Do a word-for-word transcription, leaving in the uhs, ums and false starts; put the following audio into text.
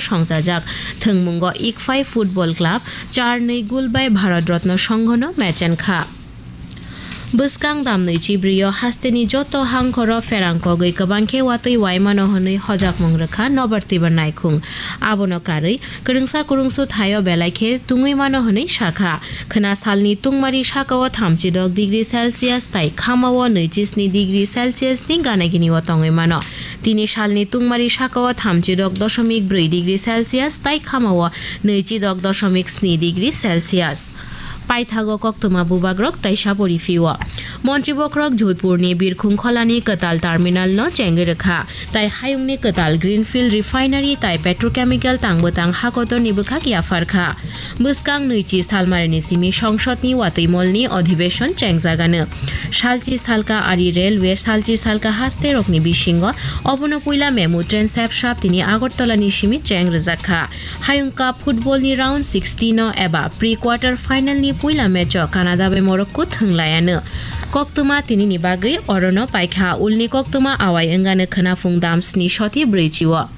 songchajak. Thwngmungo Ikphai Football Club char nwi gul bai Bharat Ratna Songhono mechenkha. Bwskang damnwi chibrio hasteni joto hangkhoro pherang kogwi kwbang khe watwi waimano hwnwi hojakmung rwkha Nobar Tibar Naikhung. Abono karwi kwrwngsa kwrwngsu thaio belai khe tungwi mano hwnwi sakha. Khwna salni tungmari sakao thamchi dok degree Celsius tai khamao nwichi sni degree Celsius ni gana gini o tongwi mano. Tini salni tungmari sakao thamchi dok dosomik brwi degree Celsius tai khamao nwichi dok dosomik sni degree Celsius. Paithago koktwma bubagrok taisa pori phio. Montri bokhorok Jodhpurni Birkhung Kholani kwtal terminal no chengwi rwkha, tai hayungni kwtal Greenfield Refinery tai petrochemical tang bwtang hakotorni bwkhak yapharkha. Bwskang nwichi salmarini simi songsodni watwi molni adhibeshon chengjagano. Salchi salka ari railway, salchi salka haste rokni bisingo obono puila memu train sep sap tini Agartala ni simi cheng rwjak kha. Hayung Cup football ni round sixteen o eba pre quarter final ni puila match o Canada bai Morocco thwnglayano. Koktwma tini ni bagwi orono paikha, ulni koktwma awai wngano khwnaphung dam sni soti brwi chi o.